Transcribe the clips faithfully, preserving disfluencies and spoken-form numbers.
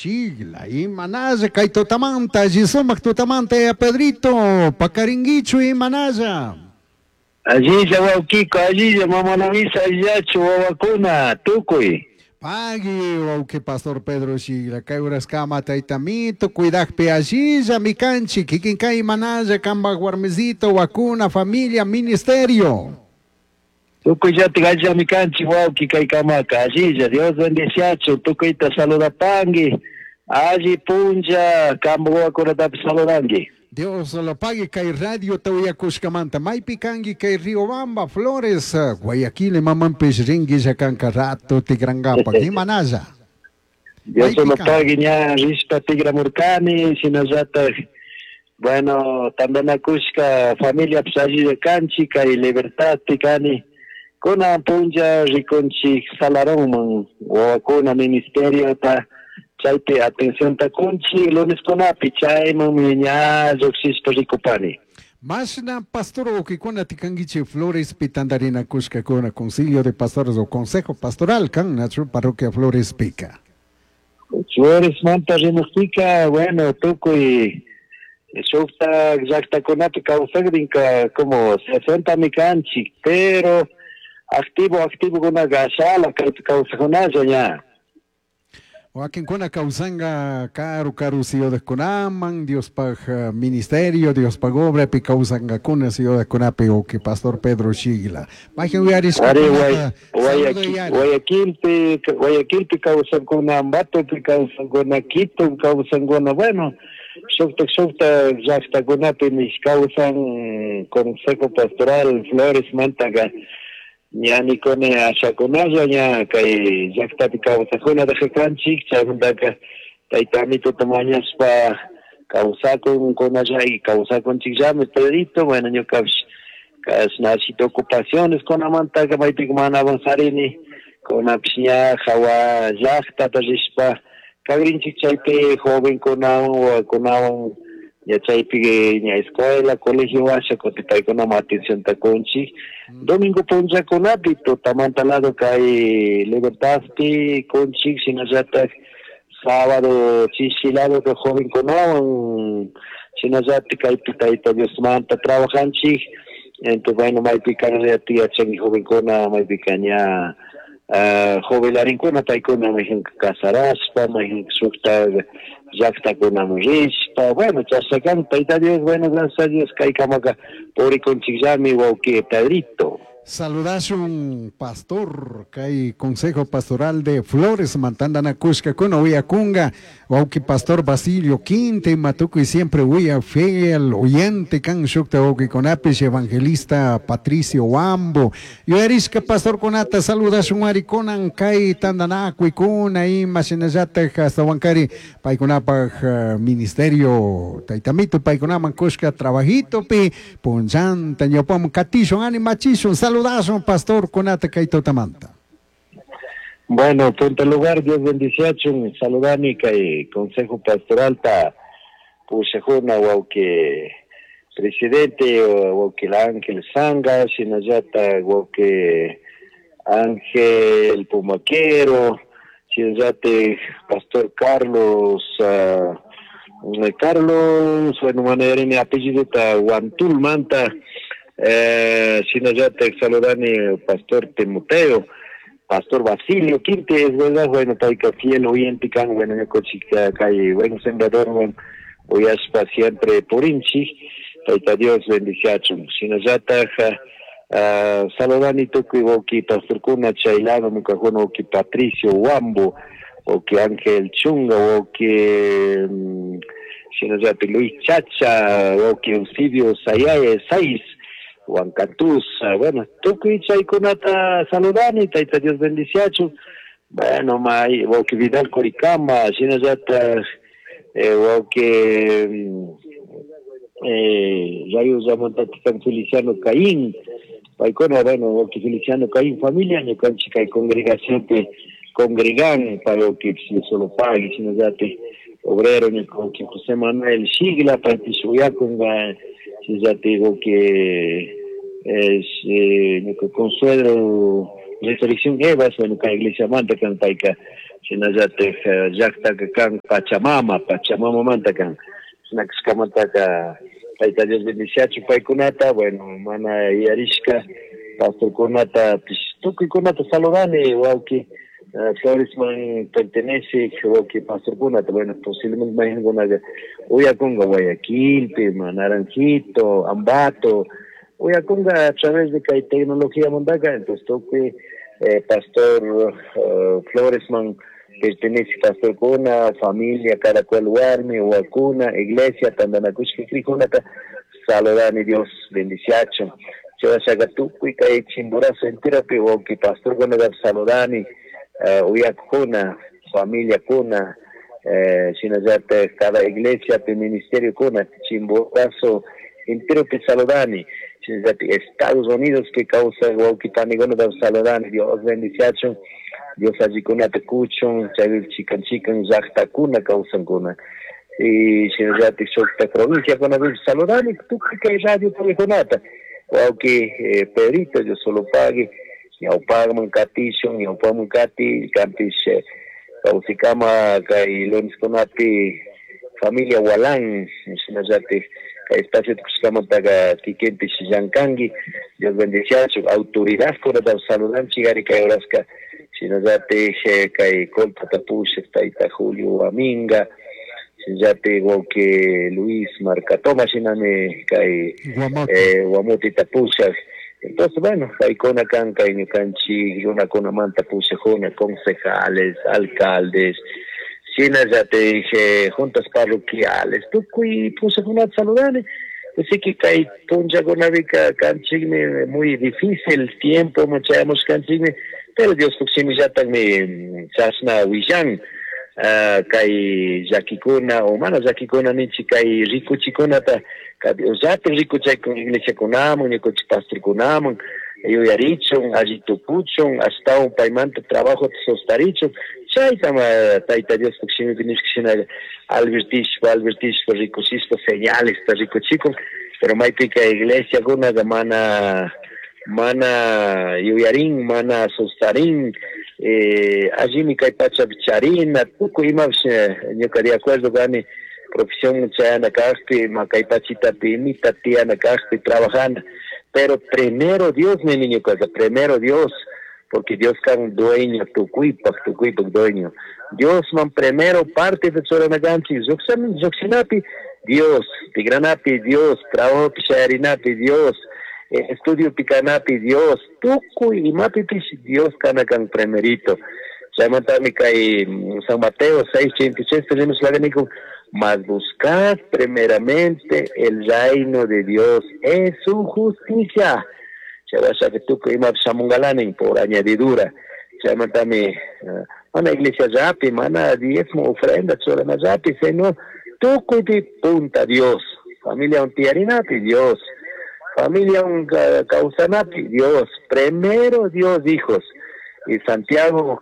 Shigla, imanalla kay tutamanta, alli sumak tutamanta ya Pedrito, pakaringuichu imanalla. Allilla wawkiko, allilla mama Luisa, allillachu wawakuna, tukuy. Pagui, wawki Pastor Pedro Shigla, kay uraskama taytamito, cuidakpi allilla mi kanchik, kikin kay imanalla kambak warmisito, wakuna, familia, ministerio. Tukuyllatik allillami kanchik wawki kay kamaka, allilla, Dios bendiciachu, tukuyta saludapangi, alli punlla, kambak wawakunatapish saludanki. Dios lo pague kay radio tauyakushkamanta, maypi kanki kay Riobamba, Flores, Guayaquil, mamanpish ringuilla kanka rato tigrangapak, imanalla. Dios lo pague ña rishpa tigramurkani, shinallatak, bueno, tantanakushka familia allilla kanchik, kay Libertad kani, kunan punlla rikunchik Salaronman, wawakuna ministeriota, chaypi atencionta kunchik luneskunapi, chaymanmi ña lluqshishpa rikupani. Mashna pastor wawkikuna tikankichik Florespi tantarinakushkakuna, concilio de pastores o consejo pastoral kan nachu parroquia Florespika. Floresmanta rimukpika, bueno, tukuy shukta llaktakunapi kawsakrinka como sesentami kanchik, pero activo, activo kunaka ashala kaypi kawsakunalla ña. Wakinkuna kawsanga karu karu ciudadkunaman, Diospaj ministerio, Diospaj obrapi kawsangakuna ciudadkunapi wawki Pastor Pedro Shigla. Mayhan Ari, Guayaquilpi, Guayaquilpi kawsankuna, Ambatopi kawsankuna, Quito kawsankuna, bueno, shuktak shuktak llaktakunapimi kawsan Consejo Pastoral Flores mantaka ña nikuni ashakunalla ña kay llaktapi kawsakuna kanchik, chaymantaka tayta Amituta mañashpa kawsakun kunalla y kawsakunchikllami Pedrito, bueno, ñukapish kashna ashita ocupaciones kunamantaka maypika mana avanzarini, kunapish ña hawa llaktata rishpa kagrinchik chaypi jovenkunawan wawakunawan ña chaypi ña escuela, colegio washa kutin paykunaman atencionta kunchik. Domingo punllakunapi tutamanta lado kay Libertadpi kunchik, shinallatak sábado chishi lado jovenkunawan, shinallatak kaypi Tayta Diosmanta trabajanchik. Entonces, bueno, maypika llati yachanki jovenkuna, maypika ña jubilarinkuna paykuna mayjinka casarashpa, mayjinka shukta llaktakunaman rishpa, bueno, chashna kan Tayta Dios, bueno, gracias a Dios kaykamaka purikunchikllami wawki Pedrito. Saludashun pastor kay Consejo Pastoral de Flores mantandanakushkakuna uyakunga wawki Pastor Basilio Quinte matukuy siempre uya fiel oyente kan shukta wawkikunapish evangelista Patricio Wambo yuyarishka pastor kunata saludashun ari kunan kay tandanakuykuna ima shinallatak ashtawankari paykunapaj ministerio taytamito paykunaman kushka trabajitopi punllanta ñawpaman katishun animachishun saludazo pastor kunata kay tutamanta. Bueno, punto lugar, Dios bendiciachun, saludani kay Consejo Pastoral ta pushajuna wawki presidente wawki Ángel Sanga, shinallata wawki Ángel Pumaquero, shinallata Pastor Carlos uh, Carlos, bueno, manera apellido ta Guantul Manta, eh, shinallatak saludani Pastor Timoteo, Pastor Basilio Quinte, es verdad, bueno, payka fiel oyente kan, bueno, ñukanchik kay buen sembrador, bueno, uyashpa siempre purinchik, Tayta Dios bendiciachun. Shinallatak uh, saludani tukuy wawki pastorkuna chay lado ñukakuna wawki Patricio Wambo, wawki Ángel Chunga, wawki um, shinallatak Luis Chacha, wawki Eusebio Sayaye Saiz, Juan Cantús, bueno, tukuy chaykunata saludani, Tayta Dios bendiciachun. Bueno, may wawki Vidal Coricama, shinallatak eh, wawki eh, Rayo San Feliciano Caín, paykuna, bueno, wawki Feliciano Caín familia, ñukanchik kay congregación congregan, para que solo pague, shinallatak obrero, wawki José Manuel Shigla, paypish uyakunga, shinallatak wawki es eh, ñuka consuegro Resurrección Evas, bueno, kay iglesia manta kan payka Shinallatik llaktaka kan Pachamama, Pachamamamanta kan. Shinakashkamantaka Tayta Dios bendiciachu paykunata, bueno, mana yarishka pastorkunata, tukuykunata saludani, wawki Floresman pertenece, wawki pastorkunata, bueno, posiblemente mayqinkunaqa uyakunqa Guayaquilpi, Naranjito, Ambato, uyakunqa a través de kay tecnología mantaka, entonces tukuy eh, pastor uh, Floresman pertenece pastorkuna, familia, cada cual warmi, wakuna, iglesia, tantanakushka crikunata, saludani Dios bendiciachu. Chayashaqa tukuy kay Chimborazo enteropi wawki pastorkunata saludani, uh, uyakuna, familiakuna, eh, shinallatak cada iglesia ministerio kuna, Chimborazo enteropi saludani. Shinallatak Estados Unidos que kawsay wawki panikunata saludani, Dios bendiciachun. Dios allikunata kuchun, chaypi chikan chikan llaqtakuna kawsankuna. Y shinallatik shukta provinciakunapi saludani tukuy kay radio paykunata. Wawki eh, Pedrito, Dios solo pague, ñawpaqman katishun, ñawpaqman kati, kanpish eh, kawsikama kay luneskunapi familia Walán, shinallatik kay espacio tukushkamantaka kikinpish llankanki, Dios bendiciachun, autoridadkunata saludanchik ari kay horaska, shinallatik kay Colpata pushak tayta Julio Aminga, shinallatik wawki Luis Marcatoma shinami kay eh, Guamotita pushak. Entonces, bueno, paykuna kan kay ñukanchik runakunamanta pushakuna, concejales, alcaldes, shinallatik eh, juntas parroquiales, tukuy pushakunata saludani. Así que kay punllakunapika kanchikmi muy difícil tiempo chayamush kanchikmi, pero Dios shimillatakmi chashna willan uh, kay llakikuna o mana llakikuna ninchik kay rikuchikunata llatin rikuchaykun iglesiakunaman ñukanchik pastorkunaman yuyarichun alli tukuchun ashtawan paymanta trabajota sostarichun chaytama Tayta Diospuk shimipi nishka shina advertishpa advertishpa rikuchishpa señalesta rikuchikun, pero maypika iglesiakunaka mana mana yuyarin, mana sustarin, eh, allimi kay pachapi charina, tukuy imapish ñuka de acuerdo kani profesión chayana kajpi, ma kay pachitapi imita tiyana kajpi trabajana, pero primero Dios nini ñukaka, primero Dios, porque Dios kan dueño tukuypaq, tukuypaq dueño. Dios man primero parte de churana kanchik, lluqshinapi Dios, tigranapi Dios, trabajopi shayarinapi Dios, estudio pikanapi Dios, tukuy imapipish Dios kana kan primerito. Chaymantami kay San Mateo seis treinta y seis rimashlaka mas buscad primeramente el reino de Dios es su justicia. Chaywashaka tukuy imapish shamunkalanin por añadidura. Chaymantami mana iglesia llapi, mana diezmo ofrenda churana llapi, sino tukuypi punta Dios. Familia un tiyarinapi Dios. Familia un kawsanapi Dios. Primero Dios, hijos. Y Santiago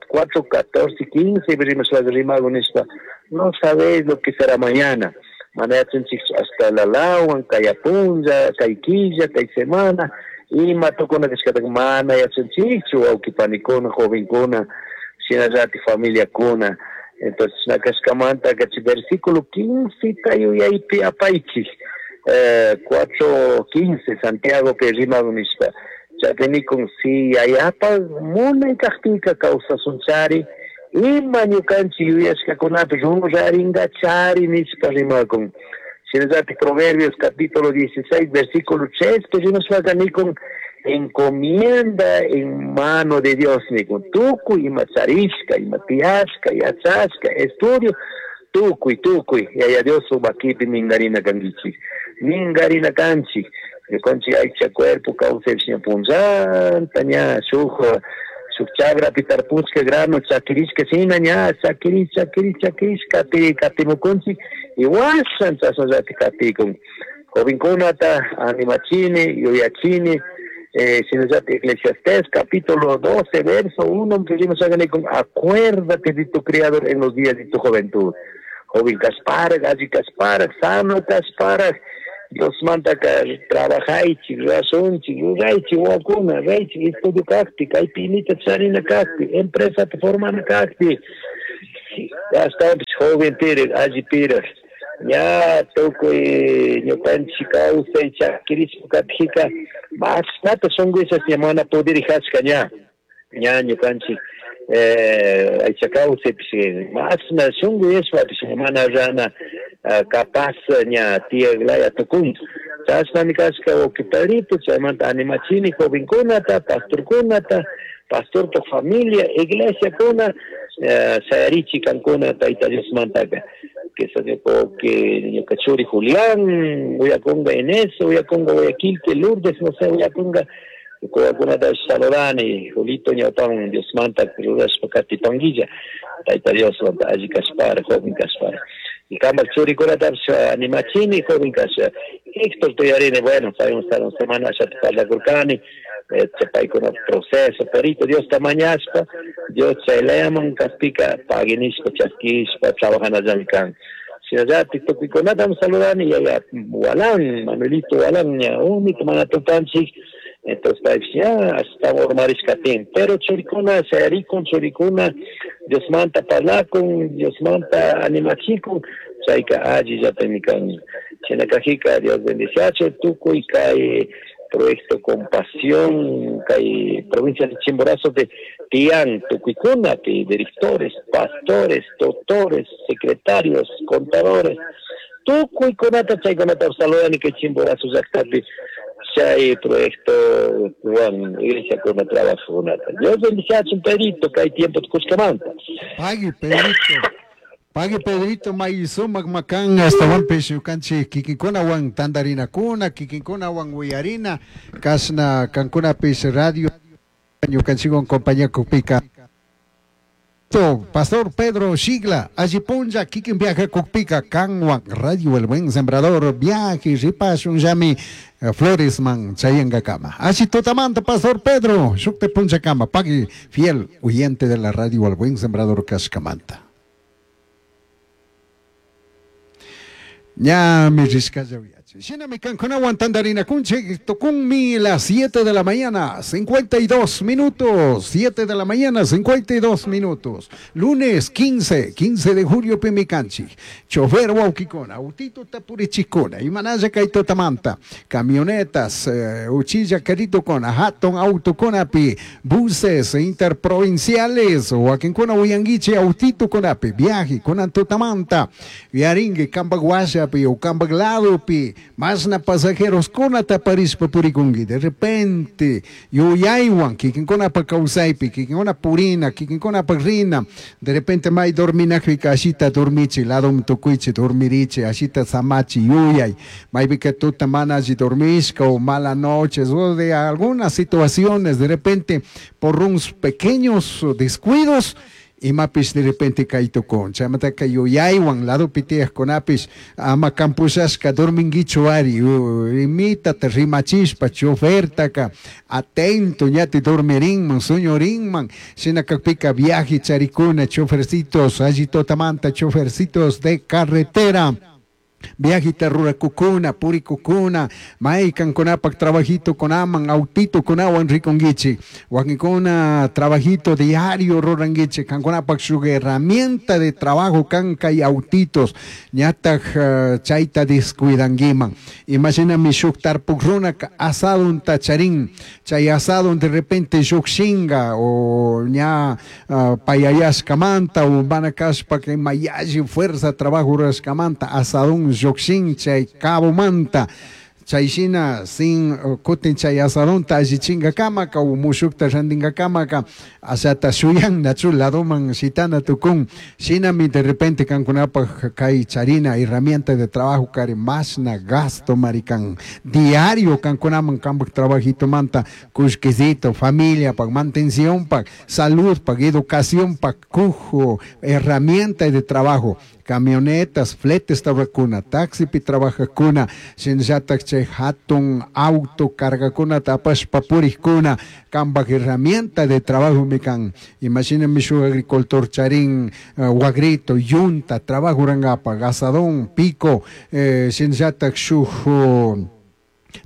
cuatro, catorce, quince, no sabéis lo que será mañana. Hasta la lawan, kay punlla, kay killa, kay semana, ima tukuna kashkata mana yachanchikchu, wawqipanikuna, jovenkuna, shinallati familiakuna. Entonces, nakashkamanta kachi versículo quince yuyaypi apaychik. Eh, cuatro quince, Santiago pe rimagun nishpa. Chaypinikun si yayapa munay kajpika kawsasunchari, ima ñukanchik yuyashkakunapi ruraringachari nishpa rimakun. Shinallatik Proverbios capítulo dieciséis, versículo tres, que rimashpaka nikun encomienda en mano de Dios nikun. Tukuy ima charishka, ima tiyashka, yachashka, estudio, tukuy, tukuy, Yaya Dios makipi mingarina kankichik. Mingarina kanchik. Ñukanchik aycha cuerpo kawsaypish ña punllanta ña shuk shuk chagrapi tarpushka grano chakirishka shina ña chakirish chakirish chakirish kati katimukunchik y washan chashnallatik katikun. Jovenkunata animachini yuyachini, eh, shinallatik Eclesiastés capítulo doce verso uno acuérdate de tu Creador en los días de tu juventud. Joven kasparak, alli kasparak, sano kasparak, Dios mantaka trabajaychik, rurashunchik, ruraychik wawakuna, raychik estudio kakpi, kaypi imita charina kakpi, empresata formana kakpi, ashtawanpish joven pirik, alli pirik, ña tukuy ñukanchik kawsay chakirishpa katijika mashnata shunkuyshash ña mana pudirishashka ña, ña ñukanchik eh, aycha kawsaypish mashna shunkuyashpapish mana rana capaz ña tiyaklaya tukun. Chashnami kashka wawqi Pedrito, chaymanta animachini jovenkunata, pastorkunata, pastorpa familia, iglesiakuna, shayarichi kankuna Tayta Diosmantaka. Que que ñuka churi Julián, uyakunga Inés, uyakunga Guayaquil, que Lourdes, no sé, uyakunga kuwakunata saludani, Julito ñawpaman Diosmanta rurashpa katipanguilla, Tayta Diosmanta alli kashpara, joven kashpara. Y kambak churikunatapish animachini, joven kasha. Héctor tuyarini, bueno, paywan semana ashata parlakurkani, paykuna proceso, perito Diosta mañashpa, Dios chaylayaman kaspika paguinishpa, chaskishpa, trabajanallami kan. Shinallatik tukuykunatam saludani, yaya Walán, Manuelito Walán, ña umito mana tupanchik, entonces paypish ña ashtawan urmarishkatin, pero churikuna shayarikun, churikuna Diosmanta parlakun, Diosmanta animachikun, chayka allillatami kan. Shinakajika Dios bendiciache, tukuy kay proyecto Compasión, kay provincia de Chimborazo de Tian, tukuykuna, directores, pastores, doctores, secretarios, contadores, tukuykunata chaykunata saludani kay Chimborazo llaqtapi chay proyecto Juan, iglesia con trabajo. Dios bendiciache, Pedrito, kay tiempo tukushkamanta. Pagui, Pedrito. Pagui, Pedrito, maysumak makan, ashtawanpish ñukanchik kikinkunawan tandarinakuna, kikinkunawan uyarina, kashna kankunapish radio ñukanchikwan compañía kukpika. Pastor Pedro Shigla, alli punlla kikin viaje kukpika, kanwan Radio El Buen Sembrador, viaje ripashun llami Floresman chayangakama. Alli tutamanta, Pastor Pedro, shukte punlla kama, pagui fiel oyente de la Radio El Buen Sembrador kashkamanta. Ñami rishkalla uyachi. Shinami kankunawan tandarinakunchik, tukunmi las siete de la mañana, cincuenta y dos minutos, siete de la mañana, cincuenta y dos minutos. Lunes quince, quince de julio pimikanchik. Chofer wawkikuna, autito tapurichikuna, imanalla kaytotamanta, camionetas, eh, uchilla queritokuna, hatun autokunapi, buses interprovinciales, wakinkuna uyanguichi autito kunapi, viaje kunan tutamanta, viaringue kambaguashapi o kambagladopi, masna pasajeros kunata parishpa purikunki, de repente yuyaywan kikinkunapa kawsaypi, kikinkuna purina, kikinkunapa rina, de repente may dorminakpika ashita dormichi, ladom tukuychi dormirichi, ashita samachi yuyay, maypika tuta mana alli dormishka o mala noches o de algunas situaciones, de repente por unos pequeños descuidos, imapish de repente kaytukun, chaymantaka yuyaywan ladopi tiyaqkunapish ama kampushashka dorminguichu ari, imitata rimachishpa chofertaka atento ñati dormirinman, sueñorinman, shinakakpika viaje charikuna chofercitos, alli totamanta chofercitos de carretera. Viajita rurakukuna, purikukuna, maykankunapak trabajito kunaman, autito kunawan rikunguichi, wakinkuna trabajito diario ruranguichi, kankunapak shuk herramienta de trabajo kanka y autitos, ñataj uh, chayta descuidanguiman. Imaginami shuk tarpuk runaka asadun tacharin, chay asadun de repente shuk shinga o ña uh, payayashkamanta o manakashpa que mayashi fuerza trabajo rurashkamanta asadun llukshin chay cabomanta chayshina sin kutin chay asadunta allichinkakamaka o mushukta rantinkakamaka ashata shuyan nachu ladoman shitana tukun shinami de repente kankunapaj kay charina herramienta de trabajo kari mashna gasto marikan diario kankunaman kampak trabajito manta kushkisito familia pak mantención pak salud pak educación pak kujo herramienta de trabajo camionetas, fletes trabajacuna, taxi pi trabajacuna, shinllatak Chay hatun auto cargakunata apashpa purikkuna kambak herramienta de trabajo mi kan. Imashinami shuk agricultor charin uh, wagrito, yunta, trabajo rangapa, azadón, pico, eh, shinallatak shuk uh,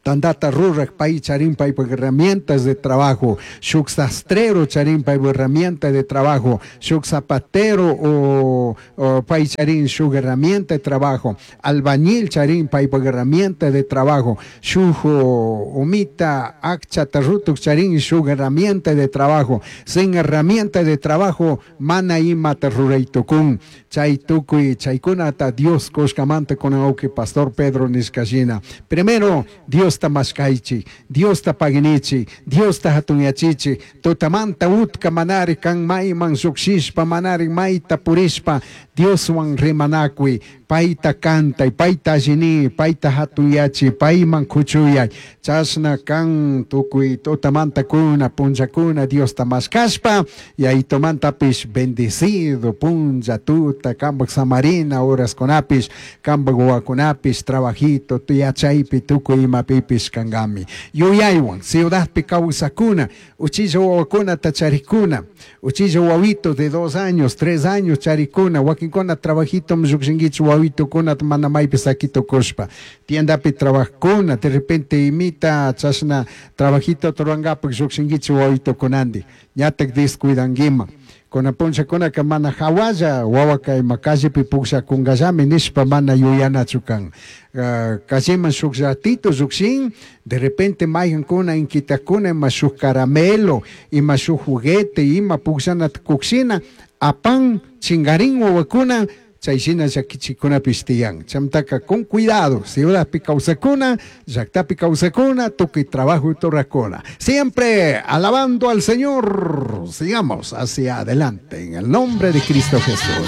tandata rurak pay charin paypak herramientas de trabajo, shuk sastrero charin paypak herramienta de trabajo, shuk zapatero o, o pay charin shuk herramienta de trabajo, albañil charin paypak herramienta de trabajo, shuk umita akchata rutuk charin shuk herramienta de trabajo, sin herramienta de trabajo mana imata ruray tukun, chay tukuy chaykunata Dios kushkamanta kunan pastor Pedro nishkashina. Primero Diosta mashkaychik, Diosta paginichik, Diosta hatunyachichik, tutamanta utka manari kan mayman llukshishpa, manari mayta purishpa, Dioswan rimanakuy, payta kantay, payta allini, payta hatunyachi, payman kuchuyay, chashna kan tukuy tutamanta kuna, punllakuna Diosta mashkashpa, yayitomantapish bendecido punlla tuta, kambak samarina horaskunapish, kambak wawakunapish, trabajito, yachaypi tukuy imapipish kankami. Yuyaywan, ciudadpi kawsakuna, uchilla wawakunata charikuna, uchilla wawito de dos años, tres años charikuna, wakinkuna trabajito llukshinkichik wawitukuna mana maypi sakitukushpa, tiendapi trabajkuna, de repente imita chashna trabajito rurankapak llukshinkichik wawitukunantik, ñatak descuidankiman. Kuna punllakunaka mana hawalla wawaka ima callepi pukllakunkallami nishpa mana yuyanachu kan. Uh, calleman shuk ratito llukshin, de repente maykankuna inquitakuna ima shuk caramelo, ima shuk juguete, ima pukllanata kukshina, apan chingarin wawakuna, chay shina llakichikunapish tiyan. Chaymantaka con cuidado, ciudadpi kawsakuna, llaktapi kawsakuna, tukuy trabajo rurakuna. Siempre alabando al Señor. Sigamos hacia adelante en el nombre de Cristo Jesús.